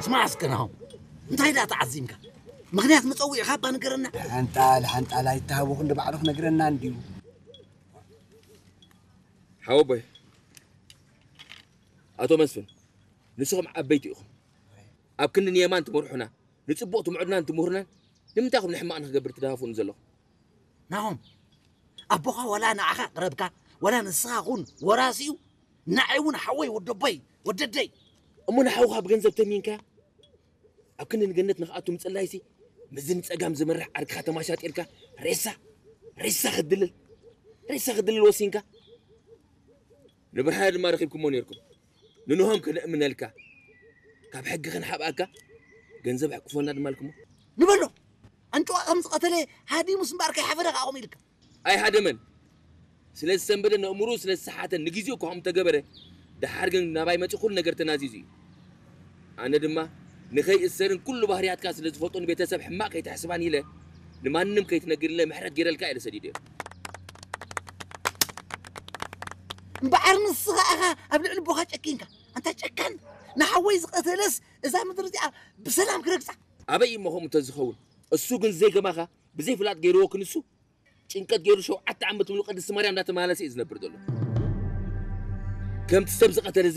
ስማዕ እስከ ናሆም፣ እንታይ ደኣ ተዓዚምካ? ምኽንያት መጸውዒኻ እባ ንገረና። ሓንጣል ሓንጣል ኣይተሃወኹ እንደ ባዕሉ ክነግረና እንድዩ። ሓወቦይ፣ ኣቶ መስፍን፣ ንስኹም ዓበይቲ ኢኹም። ኣብ ክንዲ ንየማን ትመርሑና፣ ንጽቡቕ ትምዕዱናን ትምህሩናን፣ ንምንታይ ኢኹም ንሕማቕ ንኽገብር ትደፋፍኡኒ ዘለኹም? ናሆም፣ ኣቦኻ ዋላ ንዓኻ ቅረብካ፣ ዋላ ንስኻ ኹን ወራሲኡ፣ ንዓይ እውን ሓወይ ወደቦይ ወደደይ። እሞ ንሓውኻ ብገንዘብ ተሚንካ ኣብ ክንዲ ንገነት ንኽኣቱ ምጽላይሲ፣ ምስዚ ንጸጋም ዝመርሕ ዓርክኻ ተማሻጢርካ ሬሳ ሬሳ ክትድልል ሬሳ ክትድልል ወሲንካ። ንብርሃነ ድማ ረኺብኩሞ ነይርኩም። ንንሆም ከነእምነልካ፣ ካብ ሕጊ ክንሓብኣካ፣ ገንዘብ ኣሕቁፎና ድማ ኣልኩሞ። ንበሎ፣ ኣንጭዋ ከም ዝቐተለ ሃዲሙስ እምበኣር ከይሓፈረ ከኣ ከምኡ ኢልካ። ኣይሃደመን። ስለ ዝሰንበደ ነእምሩ ስለ ዝሰሓተ ንግዜኡ እኳ ከምኡ ተገበረ። ደሓር ግን ናባይ መጺኡ ኩሉ ነገር ተናዚዙ እዩ። ኣነ ድማ ንኸይእሰርን ኩሉ ባህርያትካ ስለ ዝፈልጡ ንቤተሰብ ሕማቕ ከይትሕስባን ኢለ ንማንም ከይትነግርለ ምሕረት ገይረልካ እየ ሰዲደ። እምበኣር ንስኻ ኢኻ ኣብ ልዕሊ ኣቦኻ ጨኪንካ። ኣንታ ጨካን፣ ንሓወይ ዝቐተለስ እዛ ምድሪ እዚኣ ብሰላም ክረግጻ። ኣበይ እሞ ከምኡ እንተዝኸውን? እሱ ግን ዘይገማኻ ብዘይፍላጥ ገይርዎ ክንሱ ጭንቀት ገይሩ ሸውዓተ ዓመት ሙሉ ቅድስቲ ማርያም እንዳተመላለሰ እዩ ዝነብር ዘሎ። ከምቲ ሰብ ዝቐተለ